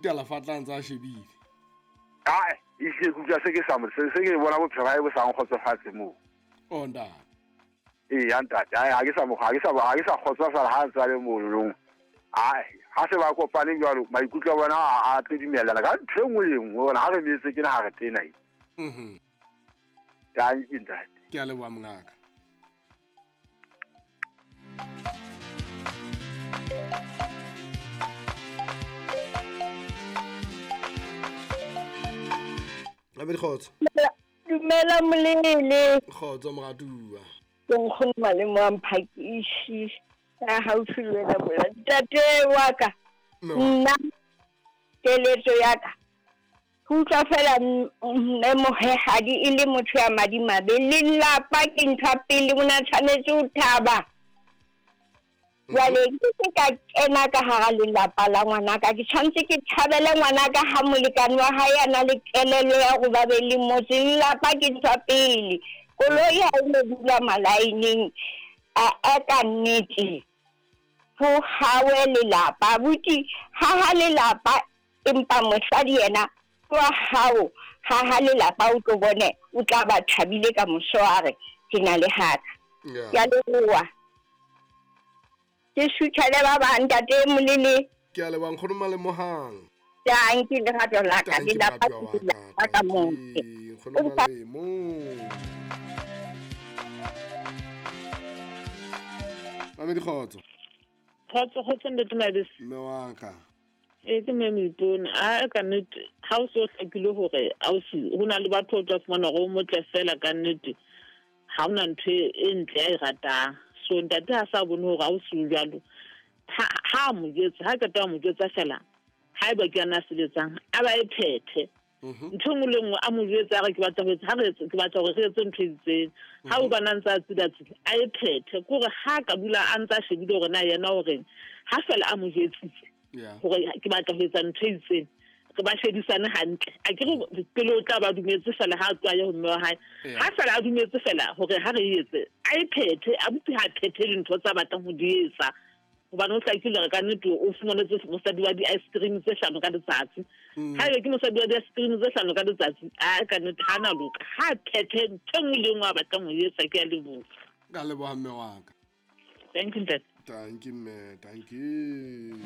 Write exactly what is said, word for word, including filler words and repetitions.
Alafatla ntse a shebile. Ae, ehlile ke utlwa se ke sa mo se se ke bona bophelo ba hae bo sa nkgotsofatse moo. Oh ntate. Eya ntate, ae ha ke sa mo ha ke sa ha ke sa kgotsofala ha ntse a le mono. Ae, ha se ba kopane jwalo, maikutlo a bona a a tlo dumellana ka ntho e nngwe le e nngwe hobane ha re metse ke na ha re tena. Mhm. Tanki ntate. Ke a leboha mongaka. Abedi kgotso. Dumela Molele. Kgotso moratuwa. Ke nkgono Malemo a Mphakishi. Ya haufi le wena mola. Ntate wa ka. Nna keletso ya ka. Ho utlwa fela mme mohehadi e le motho ya madimabe. Lelapa ke ntho ya pele, o na tshwanetse ho thaba. Jwale ke se ka kena ka hara lelapa la ngwanaka, ke tshwanetse ke thabele ngwanaka ha molekane wa hae a na le kelello ya hore ba be le motse. Lelapa ke ntho ya pele. Koloi ha e no dula malaeneng a a ka nnete. Ho hawe lelapa, abuti, haha lelapa empa mosadi yena wa hao, haha lelapa o tlo bone o tla ba thabile ka moso a re ke na le haka. Yeah. Ke a leboha. Ke suthele ba bang ntate Molele. Ke a leboha nkgono Malemohang. Tanki lerato la ka, Tanki lelapa moratuwa ke wa ka, lelapa ka motse. tanki nkgono Malemo. Mamedi kgotso. Kgotso, kgotso ntate Mabese. Mme wa ka. Ee, ke mme Moipone. A ka nnete ha o so hlakile hore ausi ho na le batho o tla fumana hore o motle fela ka nnete ha hona ntho e ntle a e ratang. So ntate ha sa bone hore ausi o jwalo, ha ha mo jwetsa, ha qeta mo jwetsa fela, haeba ke yena a sebetsang, a ba e phethe. Ntho e nngwe le nngwe a mo jwetsa a re ke batla ho etsa, ha re etse, ke batla hore re etse ntho e itseng. Ha o bana ntse a tsila-tsila, a e phethe. Ke hore ha ka dula a ntse a shebile hore na yena o reng, ha fela a mo jwetsitse hore ke batla ho etsa ntho e itseng, re ba shebisane hantle. A ke re pele o tla ba dumetse fela ha a tloha ya ho mme wa hae. Ha fela a dumetse fela hore ha re e etse, a e phethe, a botse ha phethe dintho tsa batlang ho di etsa. Hobane o hlakile hore ka nnete o fumanetse mosadi wa di-ice cream tse hlano ka letsatsi. Ha ebe ke mosadi wa di-ice cream tse hlano ka letsatsi, a ka nnete ha na loka. Ha phethe ntho e nngwe le nngwe a batlang ho e etsa, ke a leboha. Ka leboha mme wa ka. Thank you, ntate. Thank you, mme. Thank you.